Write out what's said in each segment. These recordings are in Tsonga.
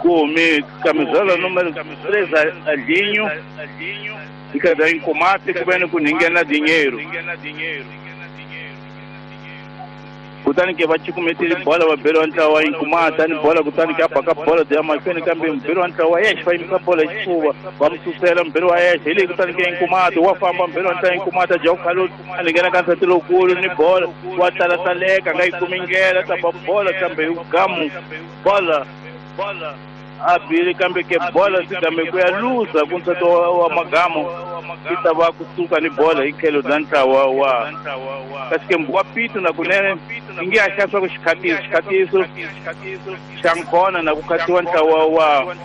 Ku humi camisola número 3 Adinho e cada Incomato ku veni ku ninghena dinheiro. Kutani ke va cukumetile bola va beriwa ntlawa wa Inkumati ni bola, kutani ke a baka bola bya mahlweni, kambe muberi wa ntlawa wa Yexe va yimisa bola hi xifuva, va mu susela muberi wa Yexe. Hi leyi kutani ke Inkumati wa famba, muberi wa ntlawa Inkumati a dya khalu, a nghena ka nsati lowukulu ni bola, wa talataleka, a nga yi kumi ndlela, ta ba bola kambe hi gamu bola a bile, kambe ke bola swi game ku ya luza ku nsati wa magamu yi ta va kusuka ni bola hi tlhelo bya ntlawa wa kasi ke wa pito na kunene yi nge ya xava ku xikhatiso xa nkona na ku khatiwa ntlawa wa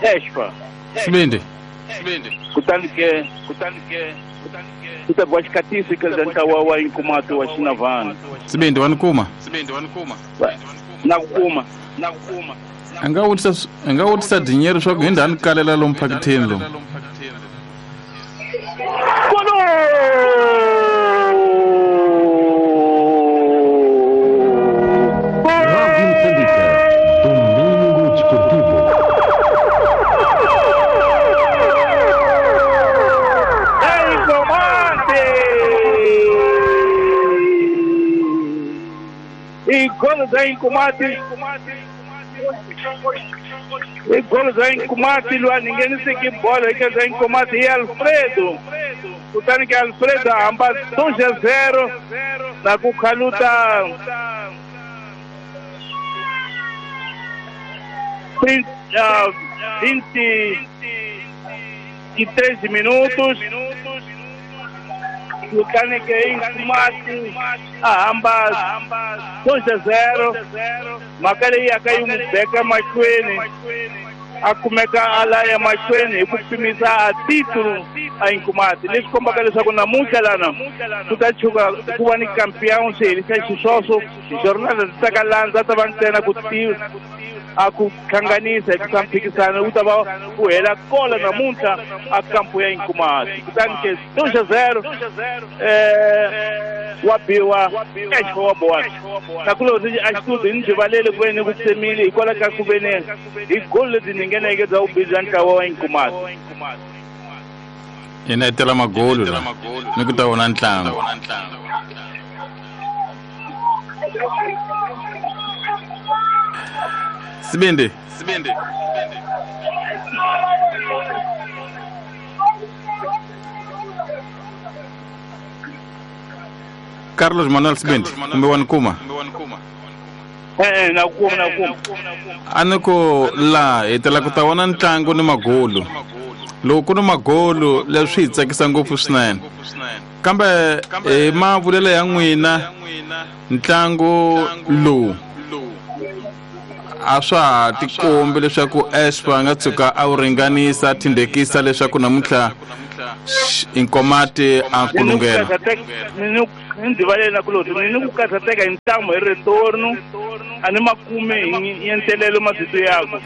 Expa. Sibindi. Kutani ke ku ta biwa xikhatiso hi tlhelo bya ntlawa wa Inkumati wa Xinavana. Sibindi, wa ni kuma? Na ku kuma. A nga vutisa, a nga vutisa dinheiro swa ku hi ndhani kalela lomu phakithini lomu. Golo! Rádio Moçambique, Domingo Desportivo. Incomato! E golo da Incomato! E golo da Incomato, loyi a ngheniseke bola eka da Incomato i Alfredo. Kutani ke Alfredo a hamba 2-0 na ku khaluta 23 minutos. Kutani ke Inkumati a hamba 2-0, mhaka leyi yaka yi n'wi beka mahlweni, a kumeka a laya mahlweni hi ku pimisa a titulu a Inkumati, leswi kombaka leswaku namuntlha lana ku ta chuka ku va ni campeão swi herisa xiswoswo. Jornal ta ka landza ta va ntsena ku tiva a ku hlanganisa hi ku mphikisano wu ta va ku hela kola namuntlha a kampo ya Inkumati. Kutani ke 2-0 wa biwa Expo wa bowana nakulori a xitudio ni rivalele ku veni ku tsemile hikwalaho ka ku veni hi golo lebyi ni ngheneke bya vubihi bya ntlawa wa Inkumati. Hina hi tela magolo la ni ku ta vona ntlangu. Sibindi. Carlos Manuel Sibindi, kumbe wa ni kuma? E-e, na kuma, na kuma. A ni ku laha hi tela ku ta vona ntlangu ni magolo. Loko ku ni magolo leswi hi tsakisa ngopfu swinene, kambe hi mavulelo ya n'wina ntlangu lowu a swa ha tikombi leswaku Espa a nga tshuka a wu ringanisa, a thindekisa leswaku namuntlha Inkomati a kulungela. Ni ndivalele na kuloti ni ku karhateka hi ntamu hi retorno a ni makume hi yentelelo mavito yaku.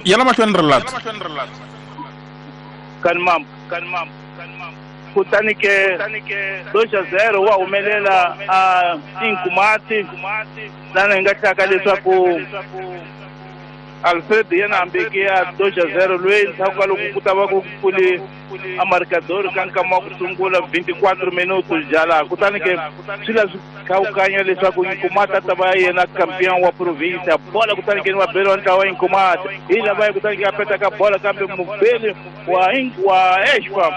Yala mahlweni rilato. Kani mambo. Kutani ke 2-0 wa humelela a Inkumati lana hi nga hlaka leswaku Alfred yena hambeke ya 2-0 loyi ndzhaku ka loko ku ta va ku pfule a marcador ka nkama wa ku sungula 24 minutos jala. Kutani ke swi la swi khawukanya leswaku Inkumati a ta va yena campeon wa province. Bola kutani ke ni vabeli wa ntlawa wa Inkumati hi lava kutani ke a petaka bola, kambe mubeli wa Expa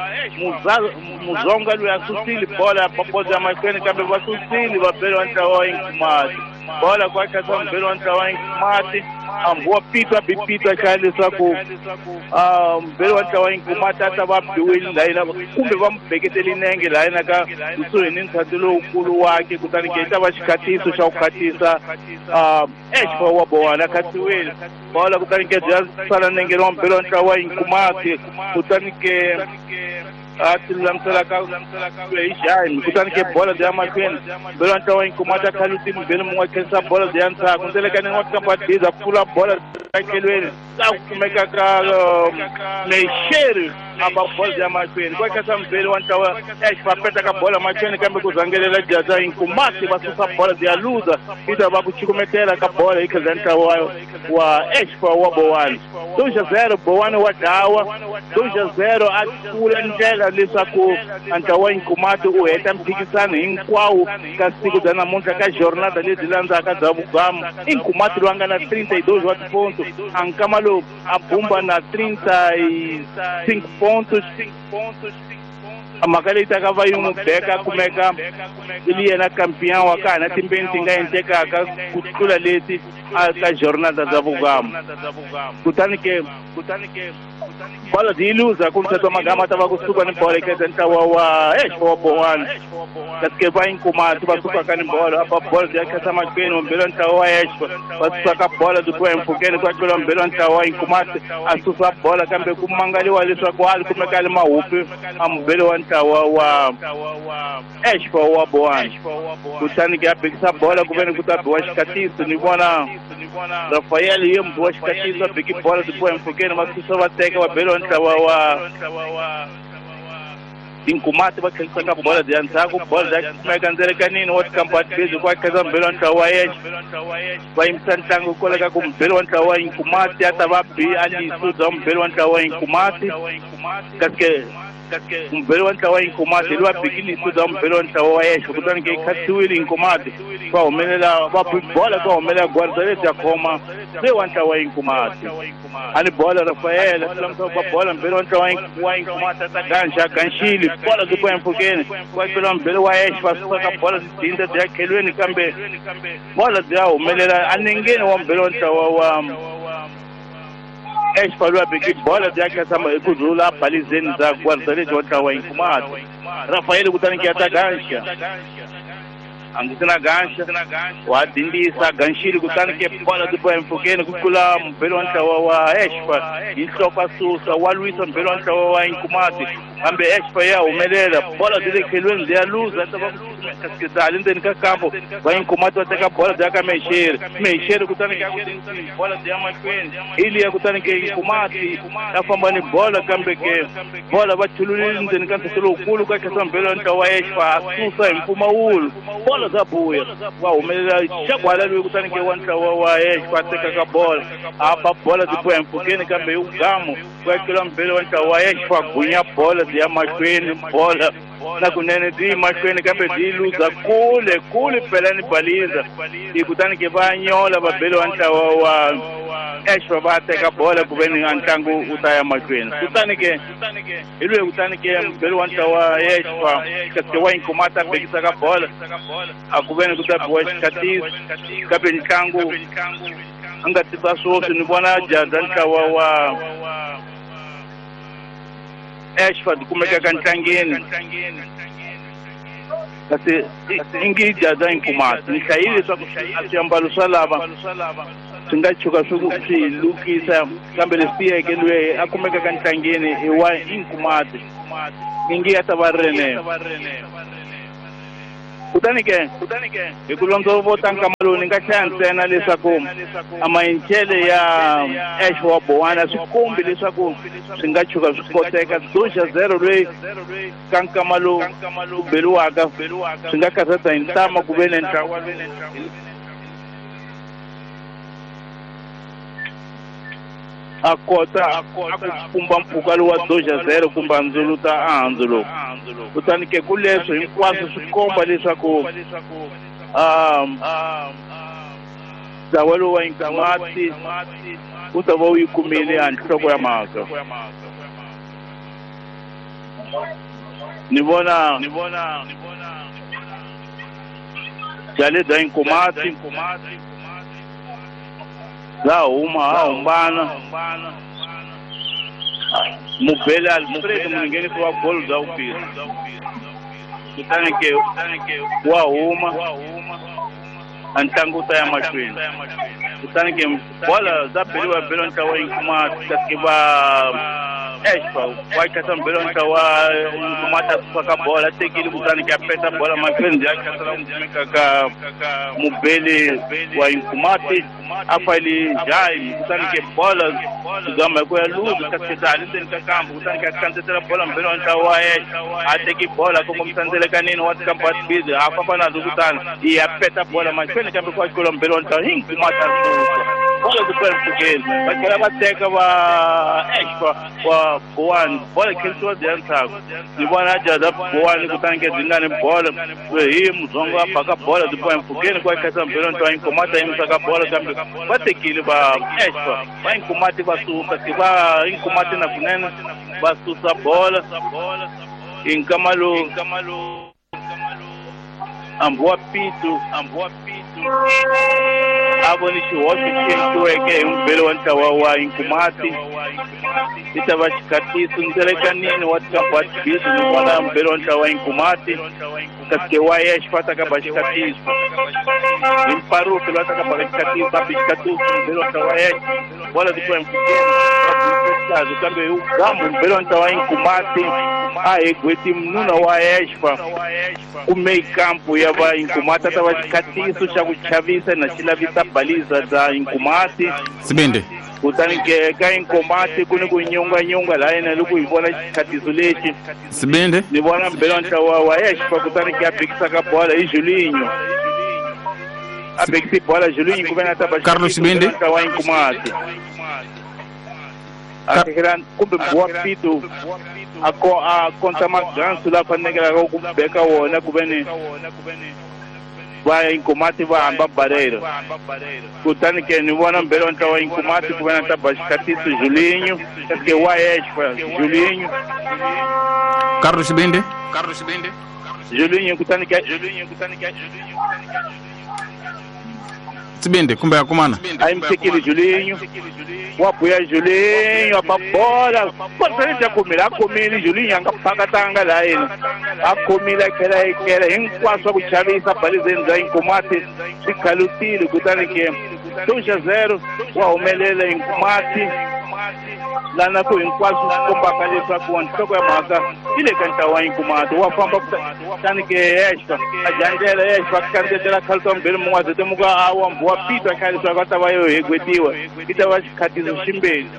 Muzonga loyi a susile bola bola ya mahlweni, kambe va susile vabeli wa ntlawa wa Inkumati. Bola kwa khatsa mubeli wa ntlawa wa Inkumati ambuwa pitwa bipitwa xa leswaku mubeli wa ntlawa wa Inkumati a ta va biwile laha kumbe va mu beketele nenge laha yena ka kusuhi ni nsati lowukulu wakhe. Kutani ke yi ta va xikhatiso xa ku khatisa Expa wa bowana khatiwile bola. Kutani ke bya sala nenge wa mubeli wa ntlawa wa Inkumati. Kutani ke a ti lulamisela ka hi jaime. Kutani ke bola bya mahlweni, mubeli wa ntlawa wa Inkumati a khaluti mubeli mun'we a khensa bola bya ndzhaku ndzelekani wa kampa diza pfula bola. tlhelweni laha ku kumekaka Mexeri a ba bolo ya mahlweni kwa kasa mubeli wa ntlawa Exfa petaka bolo mahlweni kambe ku rhangelela jaza Nkumati va susa bolo ya luza yi ta va ku chukumetela ka bolo hi khaza ntlawa wa Exfa wa Bowani 2-0 Bowani wa dlawa 2-0 a pfula ndlela leswaku ntlawa wa Nkumati u heta mphikisano hinkwawo ka siku bya namuntlha ka jornada lebyi landzaka bya vugamu i Nkumati loyi a nga na 32 wa tiponto a nkama lowu a bumba na 35 pontos mhaka leyi taka va yi n'wi beka kumeka i li yena campeão wa ka hina timbeni ti nga endlekaka ku tlula leti a ka jornada bya vugamu kutani ke bolo yi luza ku mthetho magama ta va kusuka ni bolo eka ntlawa wa Exfa wa Bowani kasi ke va Nkumati va sukaka ni bolo apa bolo ya khasa mahlweni mbelo ntlawa wa Exfa va suka bolo byi kuya empfhukeni ku tlula mbelo ntlawa wa Nkumati a susa bolo kambe ku mangaliwa leswaku a li kumeka a li mahupi a mubeli wa ntlawa wa Exfa wa Bowani kutani ke a bekisa bolo ku veni ku ta biwa xikatiso ni vona Rafael ye mubi wa xikatiso a beki bolo byi kuya empfhukeni va susa va teka va beliwa ntlawa wa Nkumati va tlhelisaka ka bolo ya ndzhaku bolo ya kumeka ndzelekanini wa tikampani bezi ku khaza mubeli wa ntlawa wa Exfa va yimisa ntlangu kwale ka ku mubeli wa ntlawa wa Nkumati a ta va bi a liso bya mubeli wa ntlawa wa Nkumati kasi ke mubeli wa ntlawa wa Nkumati hi loyi a biki liso bya mubeli wa ntlawa wa Exfa kutani ke yi khasiwile Nkumati va humelela va bola va humelela gwarza lebyi ya khoma se wa ntlawa wa Nkumati a ni bola Rafael va bola mubeli wa ntlawa wa Nkumati a ta ganxa ganxile bola byi kuya empfhukeni va tlula mubeli wa Exfa va suka bola byi dinda byi ya khelweni kambe bola byi ya humelela anengeni wa mubeli wa ntlawa wa Exfa loyi a beki bola byi ya khasa hi ku rhula balizeni bya gwarza lebyi wa ntlawa wa Nkumati Rafael kutani ke ya ta ganxa a ngi na ganxa wa dindisa ganxile kutani ke bola byi boha empfhukeni ku tlula mubeli wa ntlawa wa Exfa hi nhloko a susa wa lwisa mubeli wa ntlawa wa Nkumati kambe Exfa ya humelela bola byi le khelweni byi ya luza ta va kasi bya le ndzeni ka kampo va Nkumati va teka bola byi ya ka Mexeri Mexeri kutani ke bola byi ya mahlweni hi liya kutani ke Nkumati ya famba ni bola kambe ke bola va chululile ndzeni ka ntsheto lowukulu ka khesa mubeli wa ntlawa wa Exfa a susa hi mpfumawulo bola bya buya va humelela xagwala loyi kutani ke wa ntlawa wa Exfa a tekaka bola a ba bola byi boha empfhukeni kambe hi vugamu ku ya mubeli wa ntlawa wa Exfa gunya bola byi ya mahlweni bola na kunene byi yi mahlweni kambe byi yi luza kule kule pela ni baliza hi kutani ke va nyola vabeli wa ntlawa wa Exfa va teka bola ku veni a ntlangu wu ta ya mahlweni kutani ke hi loyi kutani ke mubeli wa ntlawa wa Exfa kasi ke wa Nkumati a bekisaka bola a ku veni ku ta biwa xikatiso kambe ntlangu a nga tisa swoswi ni vona jaza ntlawa wa Exfa ti kumekaka ntlangeni kasi ingi jaza Nkumati ni hlayile leswaku a swiambalo swa lava swi nga tshuka swi lukisa kambe leswi tiyeke loyi a kumekaka ntlangeni i wa Nkumati ingi ya ta va ri kutani ke hi ku londzovota nkama lowu ni nga hlaya ntsena leswaku a mayincele ya Exfa wa Bowani a swi kombi leswaku swi nga tshuka swi koteka 2-0 loyi ka nkama lowu ku beliwaka swi nga karhata hi ntama ku ve ni ntlawa a kota a ku pumba mpfhuka lowu wa 2-0 kumbe a ndzuluta a handzu lowu kutani ke ku leswo hinkwaswo swi komba leswaku ntlawa lowu wa Nkumati wu ta va wu yi kumile a nhloko ya mhaka ni vona jale bya Nkumati bya huma ha humbana mubeli Alfred muninghenisi wa bolo bya vumbirhi kutani ke wa huma a ntlangu wu ta ya mahlweni kutani ke bola bya beliwa belo ntlawa Nkumati kasi ke va Expa wa khasa mbele wa ntlawa wa Nkomati a susa ka bola a tekile kutani ke a peta bola mahlweni ya khasela ku kumeka ka mubeli wa Nkomati a fayile jayi kutani ke bola zama hi ku ya luza kasi ha le ndzeni ka kambu kutani ke a kandzetela bola mbele wa ntlawa wa Expa a teki bola kongomisa ndzelekanini wa tikambu busy a famba nazo kutani ya peta bola mahlweni kambe ku xikolo mbele wa ntlawa Nkomati a susa bola ku tlula mpfhukeni va tlhela va teka va Expa wa Bowani bola khensiwa bya ndzhaku ni vona jaza Bowani kutani ke byi nga ni bola hi Mudzongo a baka bola byi boha mpfhukeni ku khensa mbele wa ntlawa Nkomati a yimisa ka bola kambe va tekile va Expa va Nkomati va suka ke va Nkomati na kunene va susa bola hi nkama lowu hambi wa Pitu a voni xihoxo xi endliweke hi mubeli wa ntlawa wa Nkomati i ta va xikhatiso ndzelekanini wa tikambu ni vona mubeli wa ntlawa wa Nkomati kasi ke wa Expa ta ka ba xikhatiso hi mparufi loyi a ta ka baka xikhatiso a bi xikhatiso mubeli wa ntlawa wa Expa bola ti xihlazo kambe hi gambu mubeli wa ntlawa wa Nkomati a hi gweti mununa wa Expa kume kampu ya va Nkomati a ta va xikhatiso xa ku chavisa na xi lavisa baliza bya Nkomati Sibindi kutani ke ka Nkomati ku ni ku nyunganyunga laha yena loko hi vona xikhatiso lexi Sibindi ni vona mbele wa ntlawa wa Expa kutani ke a bekisa ka bola hi Julinho a bekisi bola Julinho ku ve na ta ba Carlos Sibindi ntlawa wa Nkomati a tekela kumbe wa Pitu a ko a konta magansu la fanekelaka ku beka wona ku ve ni va Nkomati va hamba barelo kutani ke ni vona mbele wa ntlawa wa Nkomati ku ve na ta ba xikhatiso Julinho kasi ke wa Expa Julinho Carlos Sibindi Julinho kutani ke Sibindi kumbe ya kumana a yimisekile Julinho wa buya Julinho a ba bola bola ya khomile a khomile Julinho a nga phakatanga laha yena a khomile a tlhela a kela hinkwaswo ku chavisa balizeni bya Nkomati swi khalutile kutani ke 2-0 wa humelela Nkomati lana ku hinkwaswo swi kombaka leswaku nhloko ya mhaka yi le ka ntlawa wa Nkomati wa famba kutani ke Expa a jandlela Expa a kandzetela khaluta mbele mun'we a zetemuka a wa wa Pitu a khaya leswaku a ta va yo hegwetiwa i ta va xikhatiso ximbeni.